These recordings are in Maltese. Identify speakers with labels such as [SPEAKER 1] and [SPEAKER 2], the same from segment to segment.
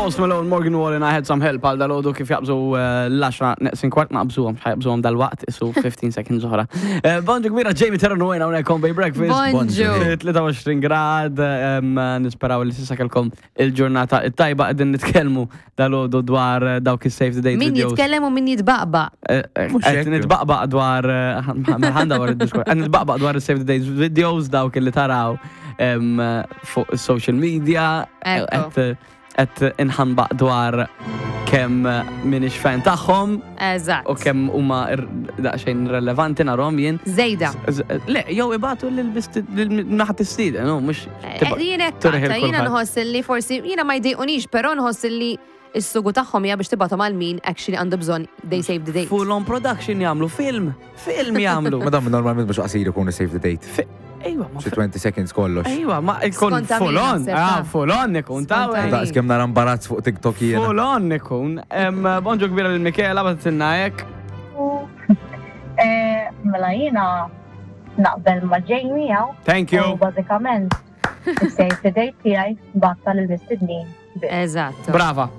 [SPEAKER 1] Post Malone, Morgan Wallen, I had some help għal dal-ħodu kif jaqbżu eh, l-10 neqsin kwart naqbżuhom, x'ħajaqbżuhom dal-waqt, isu 15 seconds oħra. Eh, Bonġu kbira Jamie Terran u għajna hawnhekk on Bay Breakfast.
[SPEAKER 2] Bonġu.
[SPEAKER 1] 23 grad, em, nisperaw li s'issa kellkom il-ġurnata it-tajba qegħdin nitkellmu dal-ħodu dwar eh, dawk is-save the date
[SPEAKER 2] Min
[SPEAKER 1] videos.
[SPEAKER 2] jitkellem u min jitbaqbaq.
[SPEAKER 1] Eh, eh,
[SPEAKER 3] Mhux
[SPEAKER 1] Qed
[SPEAKER 3] hekk.
[SPEAKER 1] nitbaqbaq dwar eh, ħanda war id-diskors. Qed nitbaqbaq dwar is-save the date videos dawk li taraw em, fuq social media.
[SPEAKER 2] Ekku.
[SPEAKER 1] Qed qed inħanbaq dwar kemm minix fan tagħhom
[SPEAKER 2] Eżatt.
[SPEAKER 1] u kemm huma ir- daqsxejn irrelevanti narhom jien.
[SPEAKER 2] Zejda.
[SPEAKER 1] Z- Le, jew ibatu lil naħat is-sida, no, mhux
[SPEAKER 2] Eh,
[SPEAKER 1] tibqa-
[SPEAKER 2] Jien hekk
[SPEAKER 1] turih
[SPEAKER 2] għadta, jiena
[SPEAKER 1] il-kulħadd.
[SPEAKER 2] nħoss li forsi jiena ma jdejqunix, però nħoss li is-sugu tagħhom hija biex tibgħathom għal min actually għandu bżonn they save the date.
[SPEAKER 1] Full on production jagħmlu film, film jagħmlu.
[SPEAKER 3] Ma dam normalment mhux qasir ikunu save the date.
[SPEAKER 1] Fi- Ejwa, ma
[SPEAKER 3] Xi 20 seconds kollox.
[SPEAKER 1] Ejwa, ma ikun
[SPEAKER 2] Skont
[SPEAKER 1] full
[SPEAKER 2] għamil
[SPEAKER 1] on,
[SPEAKER 2] naħseb,
[SPEAKER 1] ah,
[SPEAKER 2] ta'
[SPEAKER 1] full on ikun, ta'
[SPEAKER 2] Skont
[SPEAKER 1] wey.
[SPEAKER 2] għamil.
[SPEAKER 3] Daqs kemm nara imbarazz fuq TikTok jiena.
[SPEAKER 1] Full on ikun. Em, Bonġu kbira lil Michela, bagħtitilna hekk.
[SPEAKER 4] Eh, Mela jiena naqbel ma' Jamie hawn.
[SPEAKER 1] Thank you.
[SPEAKER 4] U bażikament is-save the date tiegħi nibgħatha lill-mistednin. biss.
[SPEAKER 2] Eżatt.
[SPEAKER 1] Brava,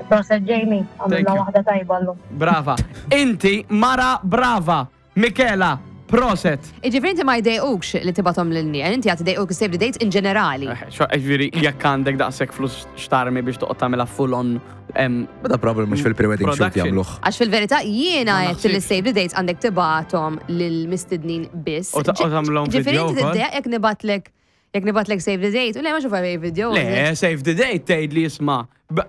[SPEAKER 4] Proset Jamie,
[SPEAKER 1] Thank
[SPEAKER 4] għamilna
[SPEAKER 1] you.
[SPEAKER 4] waħda tajba llum.
[SPEAKER 1] brava. Inti mara brava. Michela, proset.
[SPEAKER 2] Iġifieri inti ma jdejqukx li tibgħathom lil nies, inti għad idejquk save the date in ġenerali.
[SPEAKER 1] Eh, Ġifieri, jekk għandek daqshekk flus xtarmi biex toqgħod tagħmilha full on em,
[SPEAKER 3] Ma da problem mhux fil-pre-wedding shoot
[SPEAKER 1] Production.
[SPEAKER 3] jagħmluh.
[SPEAKER 2] Għax fil-verità jiena
[SPEAKER 1] Ma
[SPEAKER 2] għedt li
[SPEAKER 1] naħsibx.
[SPEAKER 2] save the dates għandek tibgħathom lill-mistednin biss.
[SPEAKER 1] U ta- u tagħmilhom
[SPEAKER 2] Ġifieri
[SPEAKER 1] video
[SPEAKER 2] inti
[SPEAKER 1] wkoll?
[SPEAKER 2] tiddejjaq jekk nibgħatlek jekk nibgħatlek save the date, u le ma xufaj video.
[SPEAKER 1] Le, save the date tgħid li jisma'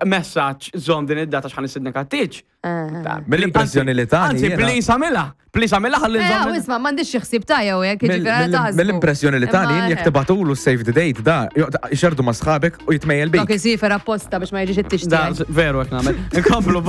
[SPEAKER 1] messaġġ żomm din id-data x'ħan nistednek għat-tieġ.
[SPEAKER 2] Eh.
[SPEAKER 3] Mill-impressjoni li tani
[SPEAKER 1] Anzi,
[SPEAKER 3] jiena-
[SPEAKER 1] please għamilha. Please għamilha ħalli
[SPEAKER 2] Eh,
[SPEAKER 1] nżomm.
[SPEAKER 2] isma, m'għandix xi ħsieb ta' jew hekk, jiġifieri taħsbu.
[SPEAKER 3] Mill-impressjoni li tani
[SPEAKER 2] Imma,
[SPEAKER 3] jekk
[SPEAKER 2] eh,
[SPEAKER 3] tibgħatulu save the date da jxerdu ma' sħabek u jitmejjel
[SPEAKER 2] Dok
[SPEAKER 3] bik.
[SPEAKER 2] isifer apposta biex ma jiġix
[SPEAKER 1] Da,
[SPEAKER 2] it-tixtieq.
[SPEAKER 1] veru hekk nagħmel. Inkomplu.